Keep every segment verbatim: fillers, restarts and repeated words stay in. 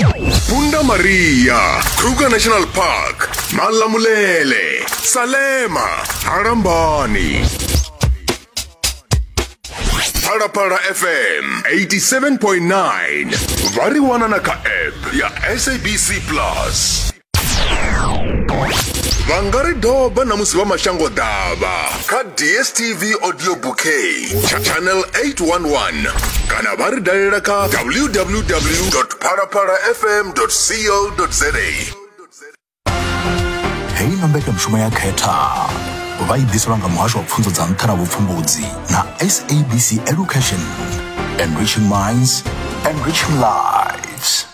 Punda Maria, Kruger National Park, Malamulele, Salema, Harambani. Phalaphala F M eighty-seven point nine. Vha ri wana na kha app ya S A B C Plus. Vha nga ri doba na musi vha mashango ḓavha kha D S T V Audio Bouquet channel eight one one kana vha ri dalela kha w w w dot phalaphala f m dot co dot z a. Heyi no mbekanyamushumo ya khetha vha i ḓiselwa nga muhasho wa pfunzo dza nṱha na vhupfumbudzi na S A B C Education, enriching minds, enriching lives.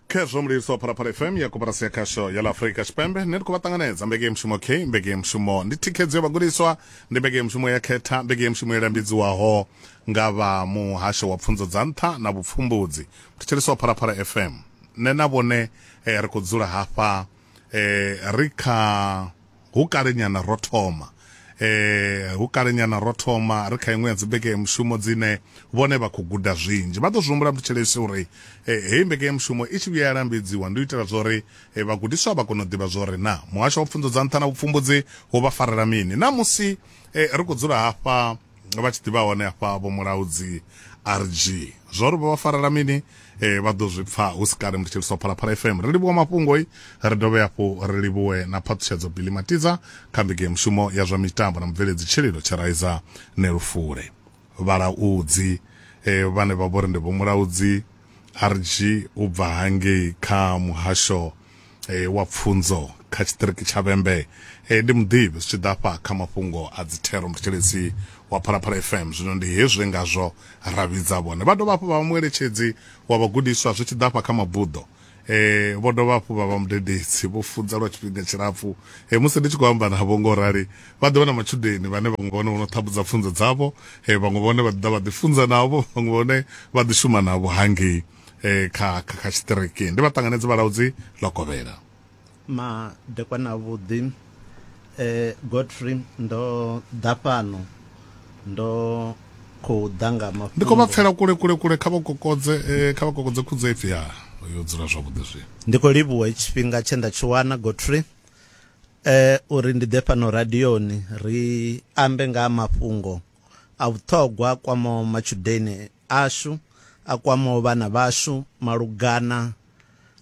Khezwo mulilisi wa Phalaphala F M ya koporasi ya khasho ya ḽa Afrika Tshipembe. Nṋe ndi khou vha ṱanganedza mbekanyamushumo K, mbekanyamushumo ndi thikhedzo ya vhagudiswa, ndi mbekanyamushumo ya khetha, mbekanyamushumo yo lambidziwaho nga vha muhasho wa pfunzo dza nṱha na vhupfumbudzi. Thetshelesi wa Phalaphala F M, nṋe na vhone eh, ri khou dzula hafha eh, ri kha hu kale nyana ro thoma eh hu kale nyana ro thoma ri kha iṅwe ya dzi mbekanyamushumo dzine vhone vha khou guda zwinzhi. Vha ḓo zwi humbula mthetshelesi uri heyi mbekanyamushumo i tshi vhuya ya lambedziwa ndi u itela zwori vhagudiswa vha kone u ḓivha zwori na muhasho wa pfunzo dza nṱha na vhupfumbudzi hu vha farela mini. Na musi ri khou dzula hafha vha tshi ḓivha hone hafha vho Mulaudzi R G zwori vha vha farela mini eh vha ḓo zwi pfa hu si kale. Mthetshelesi wa Phalaphala F M, ri livhuwa mafhungo i ri dovhe hafhu ri livhuwe na phaṱhutshedzo Billy Matiza kha mbekanyamushumo ya zwa mitambo na mubveledzi Tshililo Tshiraiza Nelufule. Vhalaudzi eh vhane vha vhori ndi Vho Mulaudzi R G u bva hangei kha muhasho eh wa pfunzo kha tshiṱiriki tsha Vhembe, eh ndi muḓivhi zwi tshi ḓa fha kha mafhungo a dzithero. Mthetshelesi wa Phalaphala F M, zwino ndi hezwi ngazwo ra vhidza vhone. Vha dovha hafhu vha mueletshedzi wa vhagudiswa zwi tshi ḓa fha kha mabuḓo, eh vho dovha hafhu vha vha mudededzi, vho funza lwa tshifhinga tshilapfu. Eh musi ndi tshi khou amba navho ngo rali vha ḓo vha na matshudeni vhane vhaṅwe vhone vho no ṱhabudza pfunzo dzavho, eh vhaṅwe vhone vha ḓa vha ḓi funza navho, vhaṅwe vhone vha ḓi shuma navho hangei eh kha kha tshiṱiriki. Ndi vha ṱanganedze Vhalaudzi Lokovhela. Madekwana vhuḓi eh Godfrey, ndo ḓa fhano ndo khou ḓa nga mafhungo. Ndi khou vha pfela kule kule kule, kha vha kokodze eh, kha vha kokodze khudzo ipfi ya yo dzula zwavhuḓi zwino. Ndi khou livhuwa tshifhinga tshe nda tshi wana Godfrey eh uri ndi ḓe fhano radioni ri ambe nga mafhungo a vhuṱhogwa kwamaho matshudeni ashu, a kwamaho vhana vhashu malugana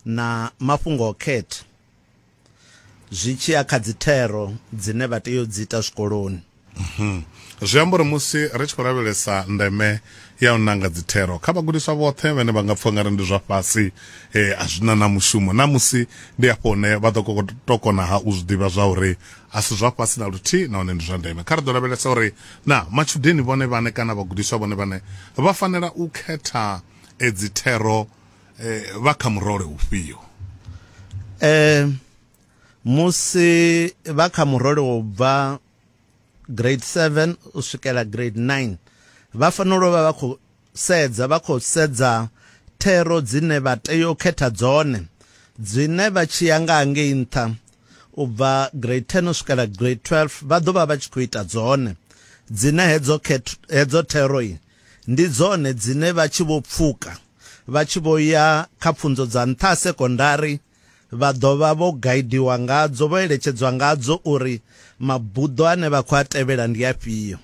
na mafhungo o khetha zwi tshi ya kha dzithero dzine vha tea u dzi ita zwikoloni. Mm-hmm. Zwi amba uri musi ri tshi khou lavhelesa ndeme ya u nanga dzithero kha vhagudiswa vhoṱhe vhane vha nga pfha ngari ndi zwa fhasi eh, a zwina na mushumo, na musi ndi afho hune vha ḓo to kona ha u zwi ḓivha zwa uri a si zwa fhasi na luthihi nahone ndi zwa ndeme. Kha ri ḓo lavhelesa uri na matshudeni vhone vhane kana vhagudiswa vhone vhane vha fanela u khetha dzithero eh, vha kha murole ufhio? Eh, musi vha kha murole wo bva grade seven u swikela grade nine vha fanela u vha vha khou sedza vha khou sedza thero dzine vha tea u khetha dzone, dzine vha tshi ya nga ngei nṱha u bva grade ten u swikela grade twelve vha ḓo vha vha tshi khou ita dzone, dzine hedzo hedzo thero ndi dzone dzine vha tshi vho pfuka vha tshi vho ya kha pfunzo dza nṱha sekondari vha ḓo vha vho gaidiwa ngadzo, vho eletshedzwa ngadzo uri mabuḓo ane vha khou a tevhela ndi afhio.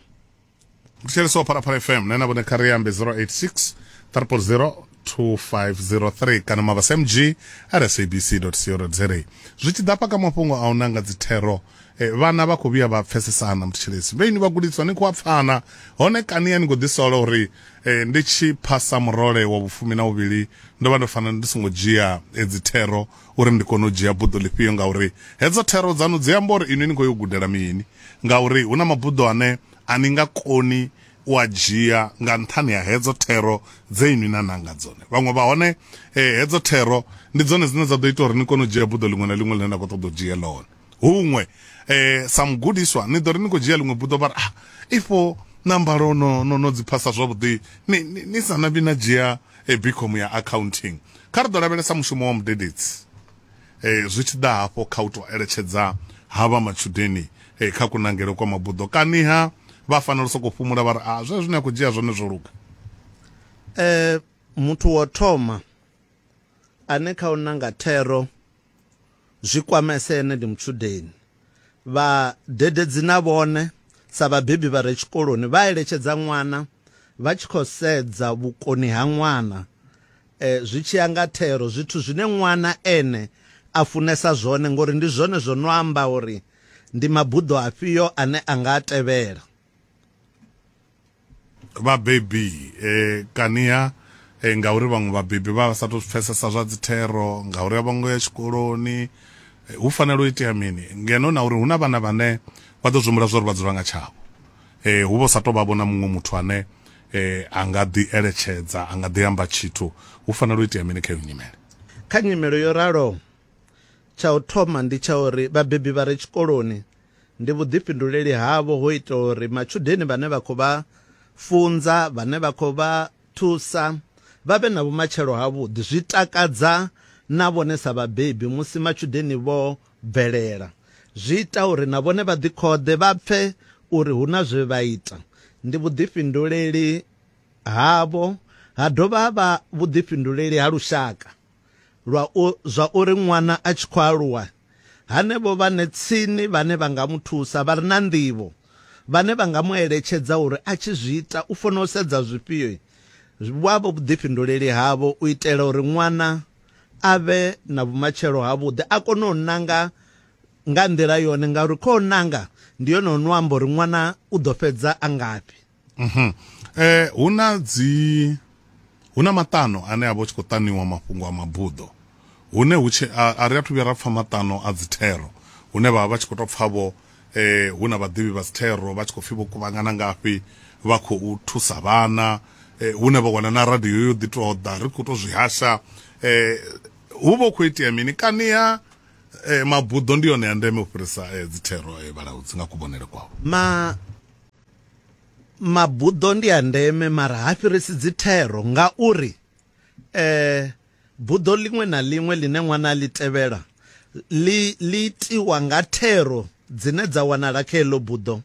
Mthetshelesi wa Phalaphala F M, nṋe na vhone kha ri ambe zero eight six triple zero two five zero three kana mabasa m g at s a b c dot co dot z a. Zwi tshi ḓa fha kha mafhungo a u nanga dzithero, eh, vhana vha khou vhuya vha pfesesana. Mthetshelesi vheni vhagudiswa ni khou a pfana hone kani ya ni khou ḓisola uri eh, ndi tshi phasa murole wa vhufumi na vhuvhili ndo vha ndo fanela ndi songo dzhia dzithero uri ndi kone u dzhia buḓo ḽifhio, ngauri hedzo thero dzanu dzi amba uri inwi ni khou yo gudela mini, ngauri hu na mabuḓo ane a ni nga koni u a dzhia nga nṱhani ha hedzo thero dze inwi na nanga dzone. Vhaṅwe vha hone eh, hedzo thero ndi dzone dzine dza ḓo ita uri ni kone u dzhia buḓo ḽiṅwe na ḽiṅwe ḽine na khou ṱoḓa u dzhia ḽone. Huṅwe eh, sa mugudiswa ni ḓo ri ni khou dzhia ḽiṅwe buḓo vha ri ah, ifho na mbalo no, no, no dzi phasa zwavhuḓi ni, ni, ni sa nambi na dzhia eh, BCom ya accounting. Kha ri ḓo lavhelesa mushumo wa mudededzi eh, zwi tshi ḓa hafho kha u tou eletshedza havha matshudeni eh, kha kunangele kwa mabuḓo, kaniha vha fanela u sokou fhumula vha ri a zwezwi zwine a khou dzhia zwone zwo luga? Eh, muthu wa thoma ane kha u nanga thero zwi kwamese ene ndi mutshudeni. Vhadededzi na vhone sa vhabebi vha re tshikoloni vha eletshedza ṅwana vha tshi khou sedza vhukoni ha ṅwana, eh, zwi tshi ya nga thero, zwithu zwine ṅwana ene a funesa zwone, ngori ndi zwone zwo no amba uri ndi mabuḓo afhio ane a nga tevhela. Vhabebi eh, kania eh, ngauri vhaṅwe vhabebi vha vha sa tou pfesesa zwa dzithero, ngauri a vho ngo ya tshikoloni, eh, hu fanela u itea mini ngeno na uri hu na vhana vhane vha ḓo zwihumbula zwa uri vha dzula nga tshavho, eh, hu vho sa tou vha vhona muṅwe muthu ane eh, a nga ḓi eletshedza, a nga ḓi amba tshithu. Hu fanela u itea mini kha iyo nyimele? Kha nyimele yo ralo, tsha u thoma ndi tsha uri vhabebi vha re tshikoloni ndi vhuḓifhinduleli havho ho ita uri matshudeni vhane vha khou vha funza, vhane vha khou vha thusa, vha vhe na vhumatshelo havhuḓi. Zwi takadza na vhone sa vhabebi musi matshudeni vho bvelela, zwi ita uri na vhone vha ḓikhoḓe, vha pfe uri hu na zwe vha ita. Ndi vhuḓifhinduleli havho, ha dovha ha vha vhuḓifhinduleli ha lushaka lwa u, zwa uri ṅwana a tshi khou aluwa hanevho vhane tsini vhane vha nga muthusa, vha re na nḓivho, vhane vha nga mu eletshedza uri a tshi zwi ita u fanela u sedza zwifhio, vha vho vhuḓifhinduleli havho u itela uri ṅwana a vhe na vhumatshelo havhuḓi, a kone u nanga nga nḓila yone, ngauri kho nanga ndi yone ono amba uri ṅwana u ḓo fhedza a ngafhi. Mm-hmm. Eh, hu na dzi hu na maṱano ane a vha tshi khou ṱaniwa mafhungo a mabuḓo, hune hu tshi a ri athu vhuya ra pfa maṱano a dzithero, hune vha vha tshi khou tou pfa vho eh, hu na vhaḓivhi vha dzithero vha tshi khou pfi vho kuvhangana ngafhi vha khou thusa vhana, eh, hune vha wana na radio yo ḓi tou ḓa ri khou tou zwi hasha, eh, hu vha hu khou itea mini? Kania eh, mabuḓo ndi yone ya ndeme u fhirisa eh, dzithero eh, vhalaudzi nga kuvhonele kwavho? Ma mabuḓo ndi ya ndeme, mara ha fhirisi dzithero, ngauri eh, buḓo ḽiṅwe na ḽiṅwe ḽine ṅwana a ḽi tevhela ḽi ḽi itiwa nga thero dzine dza wanala kha heḽo buḓo,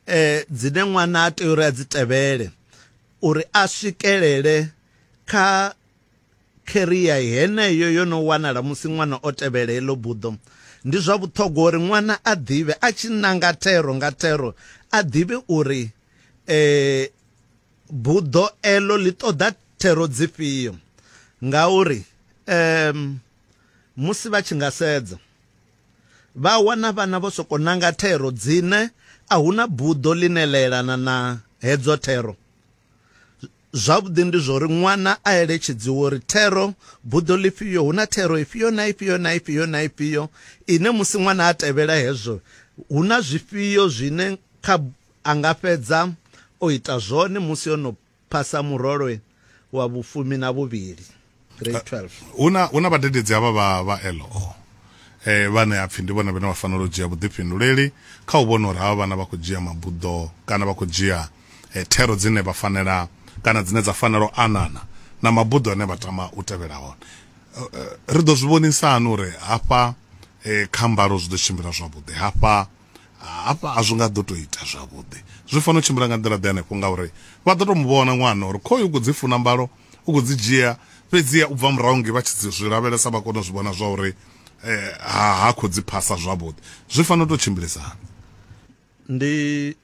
eh, dzine ṅwana a tea uri a dzi tevhele uri a swikelele kha career heneyo yo no wanala musi ṅwana o tevhela heḽo buḓo. Ndi zwa vhuṱhogwa uri ṅwana a ḓivhe, a tshi nanga thero nga thero, a ḓivhe uri eh, buḓo elo ḽi ṱoḓa thero dzifhio, ngauri um, musi vha tshi nga sedza vha wana vhana vho soko nanga thero dzine a huna buḓo ḽine ḽa elana na hedzo thero. Zwavhuḓi ndi zwo uri ṅwana a eletshedziwe uri thero buḓo ḽifhio, hu na thero ifhio na ifhio na ifhio na ifhio ine musi ṅwana a tevhela hezwo hu na zwifhio zwine kha a nga fhedza o ita zwone musi o no phasa murole wa vhufumi na vhuvhili, grade twelve. Huna huna vhadededzi havha vha vha L O eh, vhane a pfi ndi vhone vhane vha fanela u dzhia vhuḓifhinduleli kha u vhona uri havha vhana vha khou dzhia mabuḓo kana vha khou dzhia eh, thero dzine vha fanela kana dzine dza fanela u anana na mabuḓo ane vha tama u tevhela hone. Ri ḓo zwi vhonisani uri hafha eh, kha mbalo zwi ḓo tshimbila zwavhuḓi, hafha hafha a zwi nga ḓo tou ita zwavhuḓi, zwi fanela u tshimbila nga nḓila ḓe hanefho, ngauri vha ḓo tou mu vhona ṅwana uri khoyu u khou dzi funa mbalo, u khou dzi dzhia, fhedziha u bva murahu nge vha tshi zwi lavhelesa vha kona u zwi vhona zwa uri eh, ha ha khou dzi phasa zwavhuḓi. Zwi fanela u tou tshimbilisana. Ndi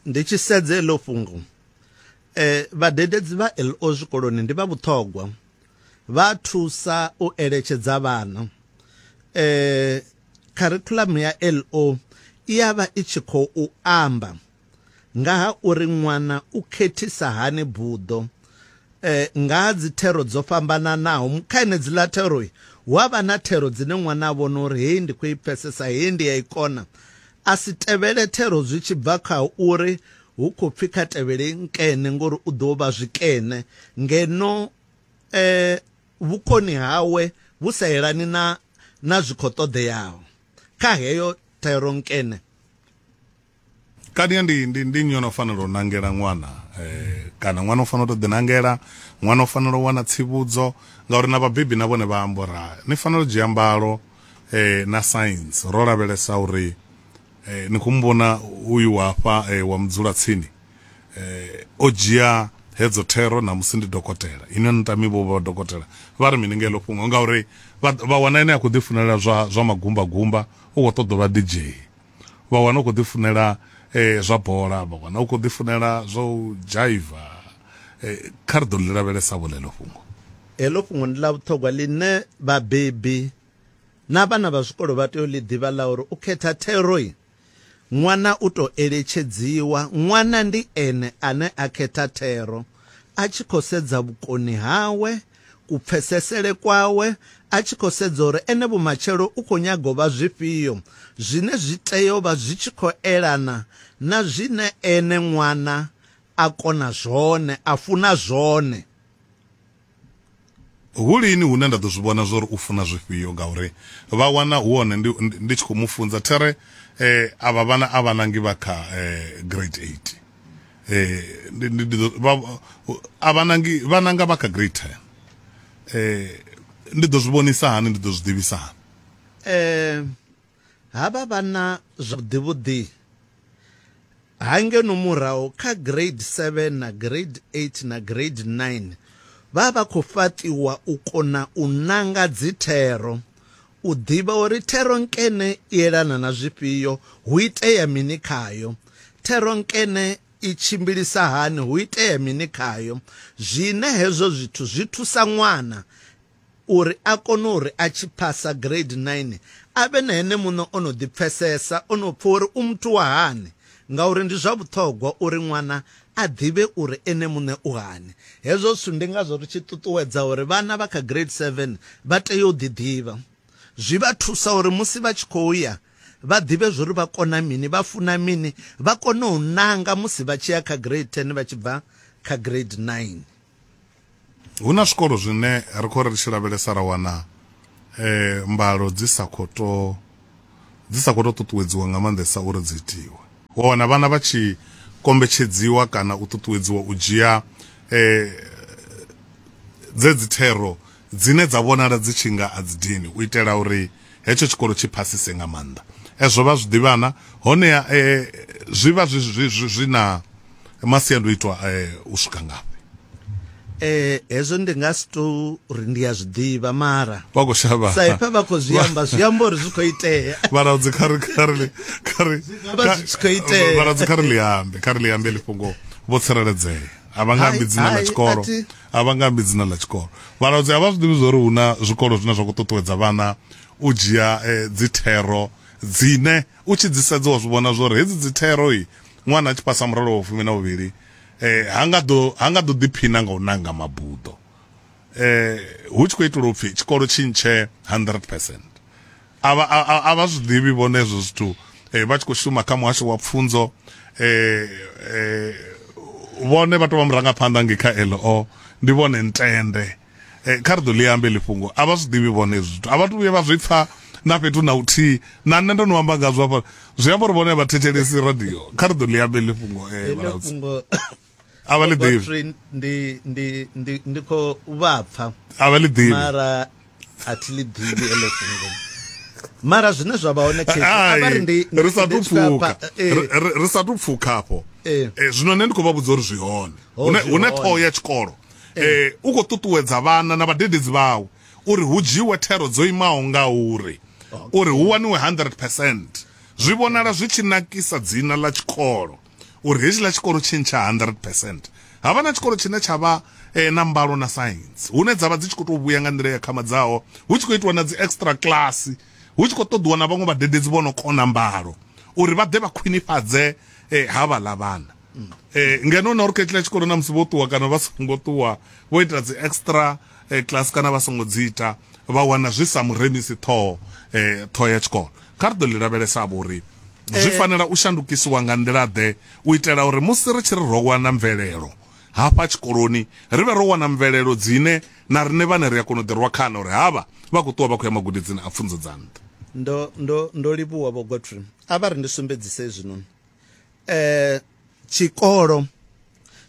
ndi tshi sedza heḽo fhungo, eh, vhadededzi vha L O zwikoloni ndi vha vhuṱhogwa, vha thusa u eletshedza vhana. Eh, curriculum ya L O i ya vha i tshi khou amba nga ha uri ṅwana u khethisa hani buḓo, eh, nga ha dzi thero dzo fhambananaho. Kha henedziḽa thero hu a vha na thero dzine ṅwana a vhona uri heyi ndi khou i pfesesa, heyi ndi ya i kona, a si tevhele thero zwi tshi bva kha uri hu khou pfi kha tevhele nkene ngori u ḓo vha zwikene, ngeno eh, vhukoni hawe vhu sa elani na na zwi khou ṱoḓeaho kha heyo thero nkene. Kani ndi ndi ndi nnyi ono fanela u nangela ṅwana, eh, kana ṅwana u fanela u tou ḓinangela, ṅwana u fanela u wana tsivhudzo, ngauri na vhabebi na vhone vha amba uri ni fanela u dzhia mbalo eh, na science, ro lavhelesa uri eh, ni khou muvhona uyu hafha eh, wa mudzulatsini eh, o dzhia hedzo thero na musi ndi dokotela ine ni tami vho vha dokotela vha ri mini ngelo fhungo ngauri vha wana ene a khou ḓi funela zwa zwa magumba gumba u khou ṱoḓa vha D J vha wana u khou ḓi funela eh zwa bola vha wana u khou ḓi funela zwa u jaiva eh kha ri ḓo ḽi lavhelesa vho ḽeḽo fhungo. Heḽo fhungo ndi ḽa vhuṱhogwa ḽine vhabebi na vhana vha zwikolo vha tea u ḽi ḓivha ḽa uri u khetha theroi ṅwana u to eletshedziwa ṅwana ndi ene ane a khetha thero a tshi khou sedza vhukoni hawe kupfesesele kwawe a tshi khou sedza uri ene vhumatshelo u khou nyaga u vha zwifhio zwine zwi tea u vha zwi tshi khou elana na zwine ene ṅwana a kona zwone a funa zwone. Hu lini hune nda ḓo zwi vhona zwori u funa zwifhio ngauri vha wana hu hone ndi ndi tshi khou mu funza there eh avha vhana a vhanangi vha kha eh, grade eight eh ndi ndi a vhanangi vhananga vha kha grade ten eh ndi ḓo zwi vhonisa hani ndi ḓo zwi ḓivhisa hani eh havha vhana zwavhuḓi vhuḓi hangeno murahu kha grade seven na grade eight na grade nine vha vha khou fhaṱiwa u kona u nanga dzithero u ḓivha uri thero nkene i elana na zwifhio hu itea mini khayo thero nkene i tshimbilisa hani hu itea mini khayo zwine hezwo zwithu zwi thusa ṅwana uri a kone uri a tshi phasa grade nine a vhe na ene muṋe o no ḓi pfesesa o no pfha uri u muthu wa hani ngauri ndi zwa vhuṱhogwa uri ṅwana a ḓivhe uri ene muṋe u hani. Hezwo zwithu ndi ngazwo ri tshi ṱuṱuwedza uri vhana vha kha grade seven vha tea u ḓi ḓivha zwi vha thusa uri musi vha tshi khou ya vha ḓivhe zwori vha kona mini vha funa mini vha kone u nanga musi vha tshi ya kha grade ten vha tshi bva kha grade nine. Hu na zwikolo zwine ri khou ri tshi lavhelesa ra wana eh mbalo dzi sa khou to dzi sa khou to ṱuṱuwedziwa nga maanḓesa uri dzi itiwe. Wa wana vhana vha tshi kombetshedziwa kana u ṱuṱuwedziwa u dzhia eh dzedzi thero dzine dza vhonala dzi tshi nga a dzi dini u itela uri hetsho tshikolo tshi phasise nga maanḓa. Ezwo vha zwi ḓivhana honeha eh, zwi vha zwi zwi zwi na masiandoitwa eh, u swika ngafhi? Eh hezwo ndi nga si tou ri ndi a zwi ḓivha mara vha khou shavha sa ipfa vha khou zwi amba zwi amba uri zwi khou itea vhalaudzi kha ri kha ri kha ri vha zwi tshi khou itea vhalaudzi kha ri ḽi ambe kha ri ḽi ambe ḽi fhungo vho tsireledzea a vha nga ambi dzina ḽa tshikolo a vha nga ambi dzina ḽa tshikolo vhalaudzi a vha zwi ḓivhi zwori hu na zwikolo zwine zwa khou ṱuṱuwedza vhana u dzhia eh, dzi thero dzine u tshi dzi sedza wa zwi vhona zwori hedzi dzi thero i ṅwana a tshi phasa muralo wa fumi na vhuvhili eh hanga ḓo hanga ḓo ḓiphina nga u nanga mabuḓo eh hu tshi khou itelwa upfi tshikolo tshi ntshe hundred percent a vha a vha zwi ḓivhi vhone hezwo zwithu eh vha tshi khou shuma kha muhasho wa pfunzo eh eh vhone vha tou vha murangaphanḓa nge kha L O ndi vhone ntende eh kha ri ḓo ḽi ambe ḽi fhungo a vha zwi ḓivhi vhone hezwo zwithu a vha tu vhuye vha zwi pfa na fhethu na uthihi na nṋe ndo no amba ngazwo hafha zwi amba uri vhone vha thetshelesi radio kha ri ḓo ḽi ambe ḽi fhungo eh vhalaudzi a vha ḽi ḓivhi ndi ndi ndi ndi khou vha pfa a vha ḽi ḓivhi mara a thi ḽi ḓivhi eḽo fhungo mara zwine zwa vha hone khezwi a vha ri ndi ri sa tu pfuka ri sa tu pfuka afho zwino nṋe ndi khou vha vhudza uri zwi hone hune hune ṱhoho ya tshikolo eh u khou ṱuṱuwedza vhana na vhadededzi vhawe uri hu dzhiwe thero dzo imaho nga uri uri hu waniwe hundred percent zwi vhonala zwi tshi nakisa dzina ḽa tshikolo uri hetshiḽa tshikolo tshi ntsha hundred percent havha na tshikolo tshine tsha vha eh, na mbalo na science hune dza vha dzi tshi khou tou vhuya nga nḓila ya khamadzaho hu tshi khou itiwa na dzi extra class hu tshi khou ṱoḓiwa na vhaṅwe vhadededzi vho no kona mbalo uri vha ḓe vha khwinifhadze eh, havhaḽa vhana mm. eh, ngeno na uri kha hetshiḽa tshikolo na musi vho ṱuwa kana vha songo ṱuwa vho ita dzi extra eh, class kana vha songo dzi ita vha wana zwi sa muremisi ṱhoho eh, ṱhoho ya tshikolo kha ri ḓo ḽi lavhelesa vho uri zwi fanela u shandukisiwa nga nḓila ḓe u itela uri musi ri tshi ri ro wana mvelelo hafha tshikoloni ri vhe ro wana mvelelo dzine na riṋe vhane ri a kona u ḓirwa khana uri havha vha khou ṱuwa vha khou ya magudedzini a pfunzo dza nṱha. Ndo ndo ndo livhuwa vho Godfrey a vha ri ndi sumbedzise zwino eh tshikolo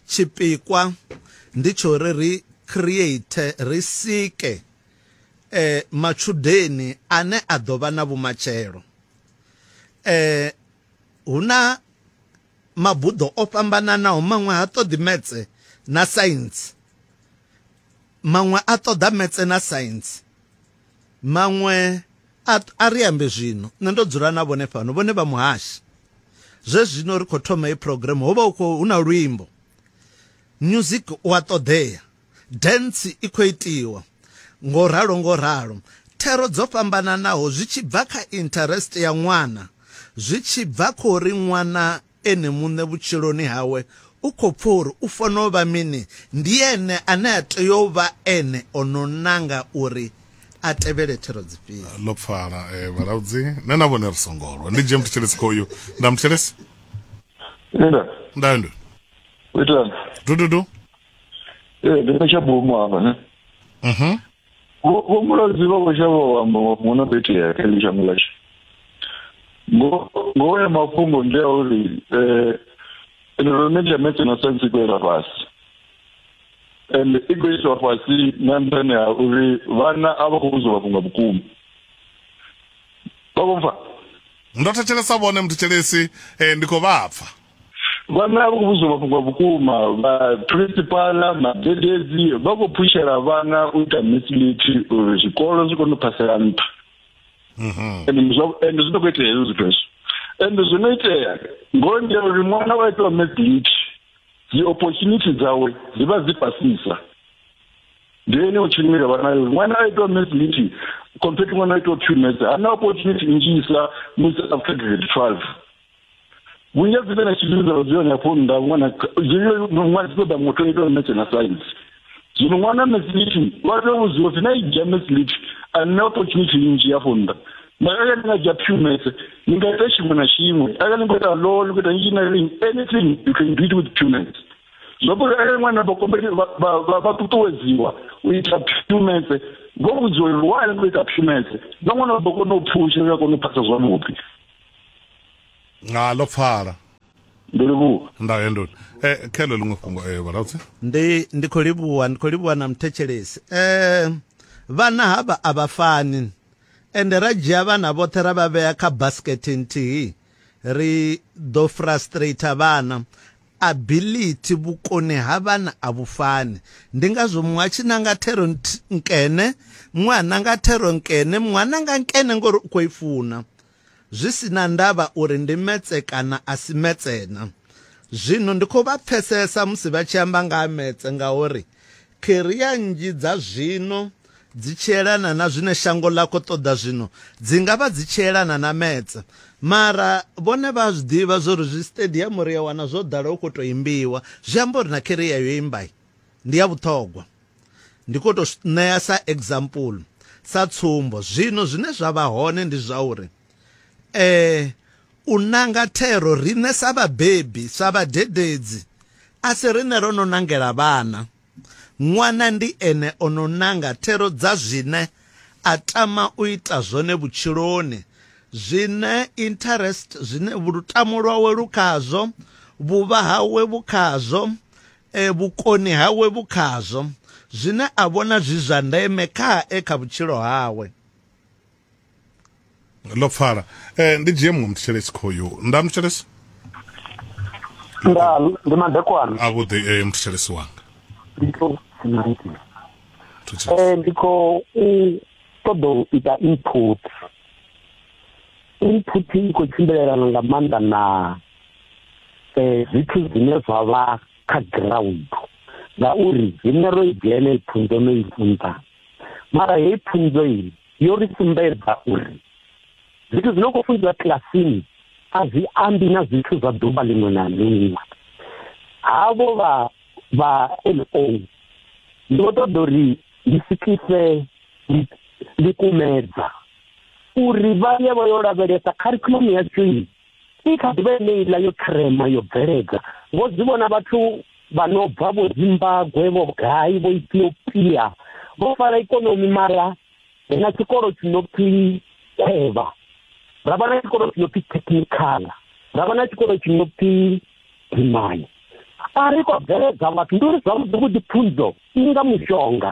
tshipikwa ndi tsho ri ri create ri sike eh matshudeni ane a ḓo vha na vhumatshelo. Eh huna mabuḓo o fhambananaho maṅwe ha ṱoḓi metse na science, maṅwe a ṱoḓa metse na science, maṅwe a ri ambe zwino nṋe ndo dzula na vhone fhano, vhone vha muhashi. Zwe zwino ri khou thoma i program, ho vha hu khou hu na luimbo, music u a ṱoḓea, dance i khou itiwa, ngo ralo ngo ralo. Thero dzo fhambananaho zwi tshi bva kha interest ya ṅwana, zwi tshi bva kha uri ṅwana ene muṋe vhutshiloni hawe u khou pfa uri u fanela u vha mini, ndi ene ane a tea u vha ene o no nanga uri a tevhele thero dzifhio. Ḽo pfala eh, vhalaudzi nṋe na vhone ri songo lwa. Ndi dzhie muthetshelesi khoyu. Nda muthetshelesi? Nda. Nda ndu. Uitani? Dududu. Eh, ndi na tshabumu hafha ne. Mhm. Vho Mulaudzi vha khou shavha u amba mafhungo no khou itea kha heḽi shango ḽashu. Ngo ngoho ya mafhungo ndi ya uri eh enrollment ya maths na science i khou yela fhasi. And i khou iswa fhasi nga nṱhani ha uri vhana a vha khou vhudziwa mafhungo a vhukuma. Vha khou pfa? Ndo thetshelesa vhone muthetshelesi, eh, ndi khou vha pfa. Vhana a vha khou vhudziwa mafhungo a vhukuma, vha principal, madededzi vha khou phushela vhana u ita maths lit uri zwikolo zwi kone u phasela nṱha. Mhm. And zwo and zwi khou itea hezwo zwithu hezwo. And zwino itea ngoho ndi ya uri ṅwana wa itiwa maths lit, dzi opportunity dzawe dzi vha dzi fhasisa. Ndi ene u tshimila vha nayo. Ṅwana a itiwa maths lit compared to ṅwana a itiwa pure maths, hana opportunity nnzhisa musi after grade twelve. Vhunzhi ha dzi vhe na tshidzi dza dzi hone afho nnḓa, ṅwana ṅwana dzi ṱoḓa muthu o itiwa maths na science. Zwino ṅwana maths lit vha tea u vhudziwa upfi na i dzhia maths lit a na opportunity nnzhi afho nnḓa. Mara arali ni nga dzhia pure maths, ni nga ita tshiṅwe na tshiṅwe. Arali ni khou ita law, ni khou ita engineering, anything you can do it with pure maths. Zwo uri arali ṅwana vha compete vha vha vha ṱuṱuwedziwa u ita pure maths, vho vhudziwa uri why ni khou ita pure maths, na ṅwana vha ḓo kona u phusha, vha kona u phasa zwavhuḓi. Nga ḽo pfala. Ndo livhuwa. Nda endo. Eh khelo ḽiṅwe fhungo eh vhalaudzi. Ndi ndi khou livhuwa, ndi khou livhuwa na muthetshelesi. Eh vhana havha a vha fani. Ende ra dzhia vhana vhoṱhe ra vha vhea kha basket nthihi, ri ḓo frustrate vhana. Ability, vhukoni ha vhana a vhu fani. Ndi ngazwo muṅwe a tshi nanga thero nkene, muṅwe a nanga thero nkene, muṅwe a nanga nkene ngori u khou i funa, zwi sina ndavha uri ndi metse kana a si metsena. Zwino ndi khou vha pfesesa musi vha tshi amba nga ha metse, ngauri career nnzhi dza zwino dzi tshielana na zwine shango ḽa khou ṱoḓa zwino, dzi nga vha dzi tshielana na metse. Mara vhone vha zwi ḓivha zwo uri zwi stadium ri a wana zwo ḓala hu khou tou imbiwa, zwi amba uri na career yo imba ndi ya vhuṱhogwa. Ndi khou tou ṋea sa example, sa tsumbo. Zwino zwine zwa vha hone ndi zwa uri eh u nanga thero riṋe sa vhabebi, sa vhadededzi, a si riṋe ro no nangela vhana. Ṅwana ndi ene o no nanga thero dza zwine a tama u ita zwone vhutshiloni, zwine interest, zwine lutamo lwawe lu khazwo, vhuvha hawe vhu khazwo, eh, vhukoni hawe vhu khazwo, zwine a vhona zwi zwa ndeme khae kha vhutshilo hawe. Ḽo pfala. Eh ndi dzhie muṅwe muthetshelesi khoyu. Nda muthetshelesi? Nda ndi madekwana. A vhuḓi eh muthetshelesi wanga. Ndi khou eh ndi khou ṱoḓa u ita input. Input i khou tshimbilelana nga maanḓa na eh zwithu zwine zwa vha kha ground, ngauri riṋe ro i dzhena i pfunzo no i funza, mara heyi pfunzo iyi yo ri sumbedza uri zwithu zwino khou funziwa kilasini a zwi ambi na zwithu zwa ḓuvha ḽiṅwe na ḽiṅwe. Havho vha vha L O ndi vho ṱoḓa uri ndi swikise ḽikumedza uri vha ye vha yo lavhelesa curriculum yashu i kha ḓivha yeneiḽa yo trema yo bveledza. Vho zwi vhona vhathu vha no bva vho Zimbabwe, vho gai, vho Ethiopia, vho fara ikonomi, mara ri na tshikolo tshi no pfi Khwevha, ra vha na tshikolo tshi no pfi Technical, ra vha na tshikolo tshi no pfi Dimani. A ri khou bveledza vhathu, ndi uri zwavhuḓi vhuḓi pfunzo i nga mushonga,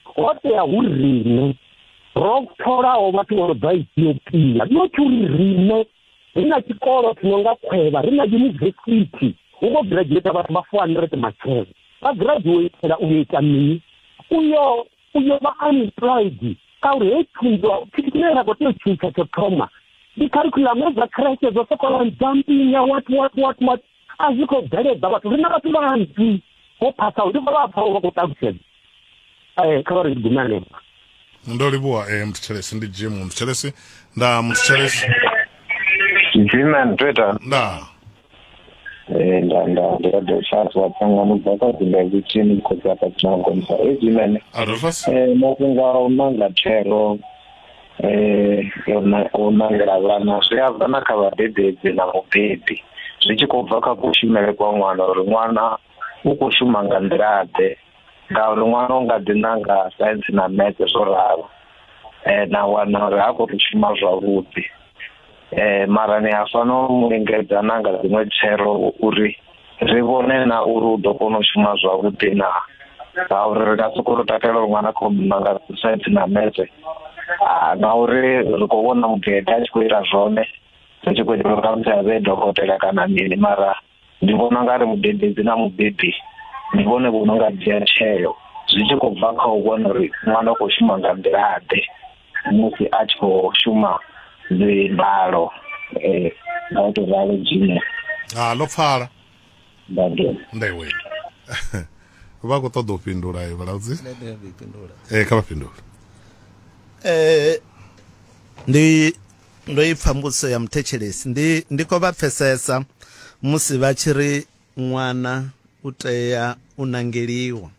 ho tea hu riṋe ro tholaho vhathu vho no bva Ethiopia, not uri riṋe ri na tshikolo tshi no nga Khwevha, ri na yunivesithi hu khou graduate vhathu vha four hundred matshelo. Vha graduatela u yo ita mini? Uyo uyo vha unemployed ngauri hei pfunzo tshithu tshine ra khou tea u tshintsha tsho thoma ndi curriculum dza creche dzo sokou jumping what what what what a zwi khou bveledza vhathu. Ri na vhathu vhanzhi vho phasaho, ndi vha vha pfa vha khou ṱalutshedza. Eh kha vha ri gume hanefho. Ndo livhuwa eh mthetshelesi ndi Jim mthetshelesi nda mthetshelesi Jim and Twitter nda eh nda nda nda ndo Charles wa tsangano bva kha dzi tsini khotsi apa tsina gonisa e Jim Adolphus eh mafhungo a u nanga thero eh yona u nangela vhana zwi a bva na kha vhadededzi na mubebi zwi tshi khou bva kha kushumele kwa ṅwana uri ṅwana u khou shuma nga nḓila ḓe ngauri ṅwana u nga ḓi nanga science na maths zwo ralo eh na wana uri ha khou to shuma zwavhuḓi eh mara ni a fanela u lingedza na nga dziṅwe thero uri ri vhone na uri u ḓo kona u shuma zwavhuḓi na ngauri ri nga sokou takalela uri ṅwana khou nanga science na maths ngauri ri khou vhona mugede a tshi khou ita zwone ri tshi khou itela uri khamusi a vhe dokotela kana mini mara ndi vhona nga ri mudededzi na mubebi ndi vhone vho no nga dzhia tsheo zwi tshi khou bva kha u vhona uri ṅwana u khou shuma nga nḓila ḓe musi a tshi khou shuma dzimbalo eh nga u tou ralo dzhine ha ḽo pfala ndagelo ndewe vha khou ṱoḓa u fhindula e vhalaudzi eh kha vha fhindule. Eh ndi ndo i pfa mbudziso ya muthetshelesi ndi ndi khou vha pfesesa musi vha tshi ri ṅwana u tea u nangeliwa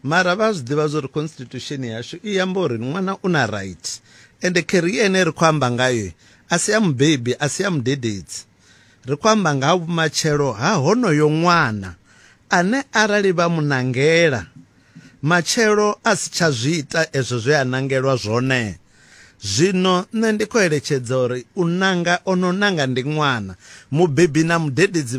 mara vha zwi ḓivha zwa uri constitution yashu i amba uri ṅwana u na right ende career ene ri khou amba ngayo a si ya mubebi a si ya mudededzi ri khou amba nga ha vhumatshelo ha honoyo ṅwana ane arali vha mu nangela matshelo a si tsha zwi ita ezwo zwe a nangelwa zwone. Zwino nṋe ndi khou eletshedza uri u nanga ono nanga ndi ṅwana mubebi na mudededzi